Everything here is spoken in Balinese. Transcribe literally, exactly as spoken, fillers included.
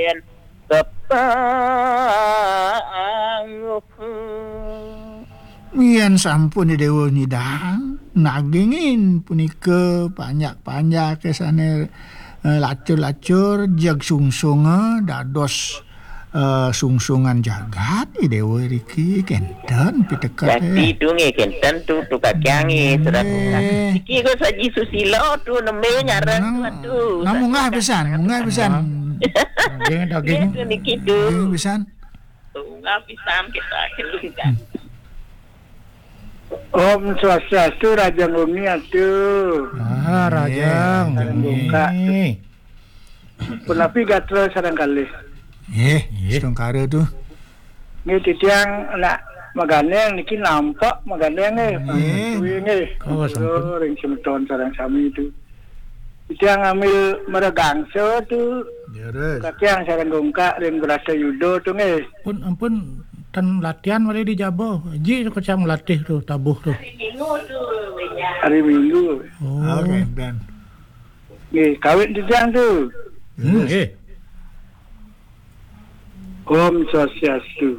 Yen kepanguk. Yen sampun Déwa nyidang, nagingin punika panjak-panjake sané, eh, lacur-lacur, jeg sungsunga dados, eh, sungsungan jagat, I Déwa riki kénten piteket. Jati tu nggih, kénten tu, tu kakiang nggih, surat. Nggih. Niki kok Saji Susilo tu, nembé nyareng tu, atuh. Nah, munggah pisan, munggah pisan. Daging, daging. Nggih, tu niki tu. Daging pisan. Munggah pisan kita, kita. Om Swastiastu, Raja Nguni atuh. Ah, Raja Nguni. Buka. Punapi gatra sareng kalih. Nggih, nggih. Setungkara tu. Nggih, titiang nak magandeng niki nampak magandeng nggih. Nggih. Kuwi nggih. Oh, sampun. Ring semeton sareng sami tu. Titiang ngambil meregangsa tu. Leres. Katiang sareng gungkak ring Brata Yuda tu nggih. Pun ampun tan latihan malih di jaba. Ji kecam latih tu, tabuh tu. Hari Minggu. Oh. Oke, dan. Nggih, kawit titiang tu. Hmm, nggih. Om Swastiastu.